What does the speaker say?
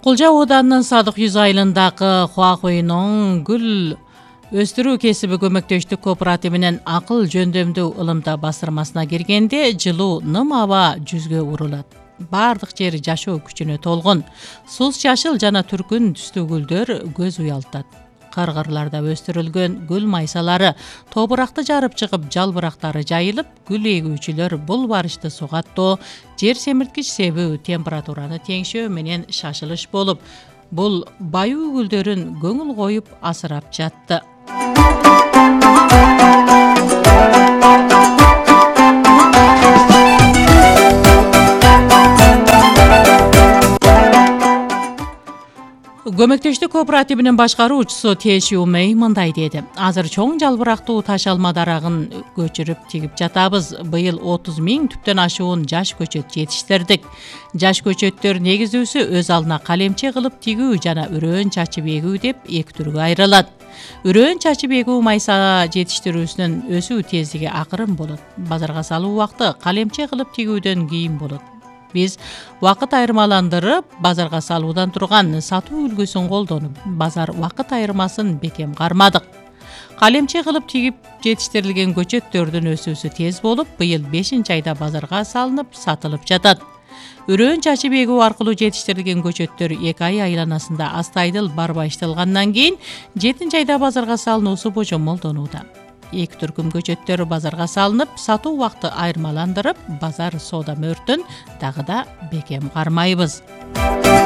Кулжа ооданынын Садык Yüz айылындагы Хуахуйнун гүл өстүрүү кесиби көмөктөштүк кооперативинин акыл жөндөмдүү ылымда басырмасына киргенде жылуу ным аба жүзгө урулат. Бардык жери жашоо күчүнө толгон. Сус жашыл жана түркүн түстүү гүлдөр көз уялтат. Кыргырларда өстүрүлгөн гүл майсалары топуракты жарып чыгып, жалбырактары жайылып, гүл эгүүчүлөр бул барышты сугаттоо, жер семирткич себүү, температураны теңшөө менен шашылыш болуп, бул баюу гүлдөрүн көңүл коюп асырап жатты. Көмөктөштүк кооперативинин башкаруучусу Тешиумей мындай деди. Азыр чоң жалбырактуу таш алма дарагын көчүрүп тигип жатабыз. Быйыл 30 000 түптөн ашуун жаш көчөт жетиштирдик. Жаш көчөттөр негизүүсү өз алдына калемче кылып тигүү жана үрөөн чачып эгүү деп эки түргө айрылат. Үрөөн чачып эгүү майса жетиштирүүсүнүн өсүү тездиги акырын болот. Базарга салуу убакыты калемче кылып тигүүдөн кийин болот. Биз убакыт айырмаландырып, базарга салуудан турган сатуу үлгүсүн колдонуп, базар убакыт айырмасын бекем кармадык. Калемче кылып тигип жетиштирилген көчөттөрдүн өсүүсү тез болуп, быйыл 5-айда базарга салынып, сатылып жатат. Үрөөн чачып эгүү аркылуу жетиштирилген көчөттөр 2 ай айланасында астайдыл барбайышталгандан кийин 7-айда базарга салынуусу божомолдонууда. 2 түркүм көчөттөр базарга салынып, сатуу убакыты айырмаландырып, базар соода мөөртүн дагы да бекем кармайбыз.